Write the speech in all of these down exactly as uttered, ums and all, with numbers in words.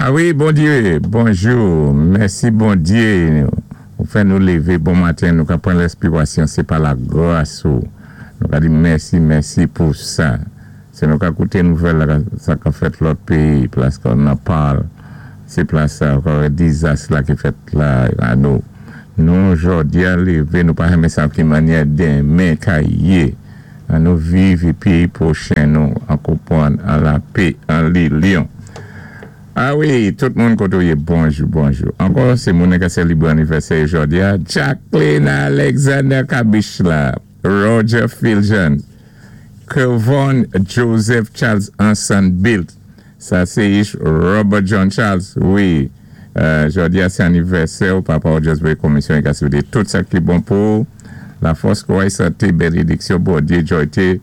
A wi, Bondyé, bonjou, mèsi Bondyé, ou fè nou lévé bon maten, nou ka pran lèspirasyon, sé pa lagras ou. Nou ka di mèsi, mèsi pou sa. Sé nou ka kouté nouvèl la, sa ka fèt lòt péyi, plas kon Nepal, sé plas sa, ankò dizas la ki fèt la, a nou. Nou jòdi-a lévé, nou pa renmen sa ki mannyè denmen ka yé. An nou viv épi pwochen nou an konpwann, an lapè, an linyon. A wi, tout moun koto yé, bonjou, bonjou. Ankò, sé moun ka sélébwé anivèsè jòdi-a, Jacqueline Alexander Kabishla, Roger Filjean, Kevon Joseph Charles Ansan Bilt, sa sé Robert John Charles, wi, euh, jòdi-a sé anivèsè ou papa ou just voyé komisyon i ka swété tout sa ki bon pou lafòs kò santé, bénédiksyon, Bondyé, jòyté,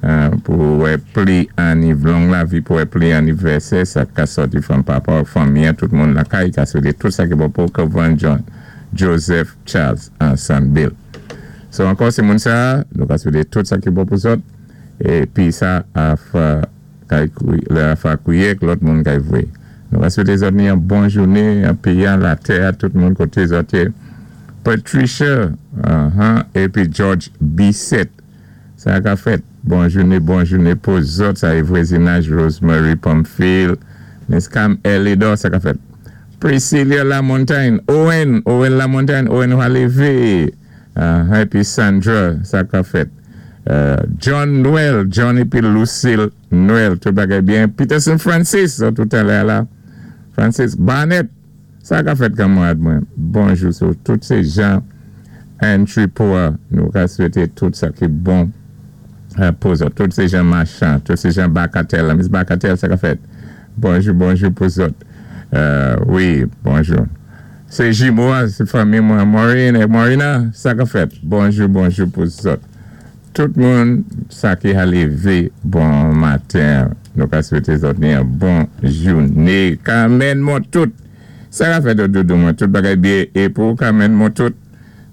euh, pou wè pli aniv, long lavi pou wè pli anivèsè, sa ka sòti fanm papa ou fanmi, tout moun lakay, ka swété tout sa ki bon pou Kevon John Joseph Charles Ansan Bilt. So ankò sé moun sa, nou ka swété tout sa ki bon pou zòt, épi sa a fa kay lè a fa kouyé lòt moun kay vwé. Nou ka swété zòt ni yon bon jouné, an péyi an latè, tout moun koté zòt yé. Patricia, uh-huh, épi George Bissett. Sa ka fèt. Bon jouné, bon jouné pou zòt, sa é vwazinaj Rosemary Pamphile, Miss Cam Elidor, sa ka fèt. Priscilla Lamontagne, Owen, Owen Lamontagne, Owen va lévé. Uh, épi Sandra, sa ka fèt. Uh, John Noel, John épi Lucille Noel, tout bagay byen. Peterson Francis, sa tout alè la. Francis Barnett, sa ka fèt kanmarad mwen. Bonjou sou tout sé jan entry pou nou ka swété tout sa ki bon euh, pou zòt. Tout sé jan machan, tout sé jan Bacatel, Miss Bacatel, sa ka fèt. Bonjou, bonjou pou zòt. Euh, wi, bonjou. Sé jimo, sé fanmi mwen, Maureen et Marina, sa ka fèt. Bonjou, bonjou pou zòt. Tout moun, sa ki a lévé, bon maten. Nou ka swété zòt ni yon bon jouné. Carmen Montout. Sa ka fèt doudou mwen, tout bagay byen. É pou Carmen Montout,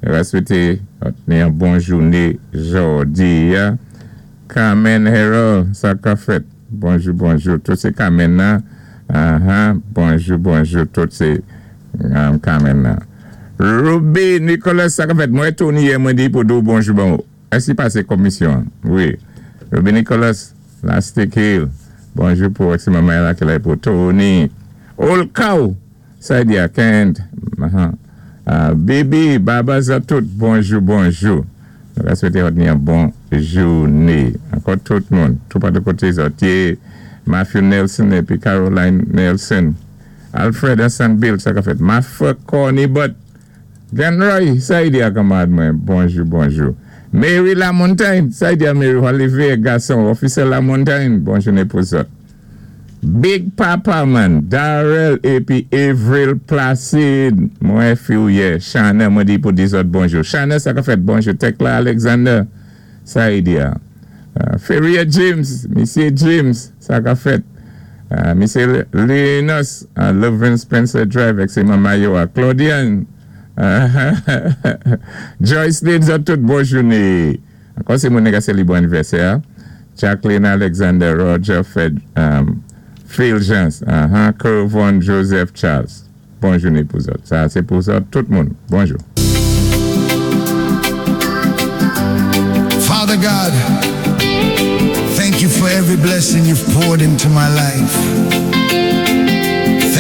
nou ka swété zòt ni yon bon jouné jòdi-a. Carmen Harold, sa ka fèt. Bonjou, bonjou. Tout sé Carmen nan. Uh-huh. Bonjou, bonjou. Tout sé um, Carmen nan. Ruby Nicholas, sa ka fèt. Mwen Tony yè mwen di pou di ou bonjou bon. Èsi pasé komisyon? Wi. Ruby Nicholas, Lastic Hill. Bonjou pou si manman la ki la pou Tony. Old Cow, sa di a Kent. Uh-huh. Uh, Bibi, Baba Zatout, bonjou, bonjou. Nou ka swété ni yon bon jouné. Ankò tout moun, tout patou koté zòt yé, Matthew Nelson épi Caroline Nelson. Alfred Hassan Bill, sa ka fèt. Mafra Corny But. Genroy, sa di a kanmarad mwen. Bonjou, bonjou. Mary Lamontagne, sa di a Mary, Olivier gason, officer Lamontagne, bon jouné pou zòt. Big Papa man, Darrell épi Avril Placide, mwen fi ou yé, Chana, mwen di pou di zòt bonjou. Chana, sa ka fèt bonjou. Tekla Alexander, sa di a. Uh, Ferrier James, Monsieur James, sa ka fèt. Uh, Monsieur Linus, uh, Levin Spencer Drive, ek sé manman yo a. Claudian, uh, Joyce Lynn, zòt tout bon jouné. Ankò sé moun ka sélébré anivèsè. Jacqueline Alexander, Roger Fed, um, Phil Jans, uh-huh, Kervon Joseph Charles. Bon jouné pou zòt. Sa, sé pou zòt, tout moun. Bonjou. Father God, thank you for every blessing you've poured into my life.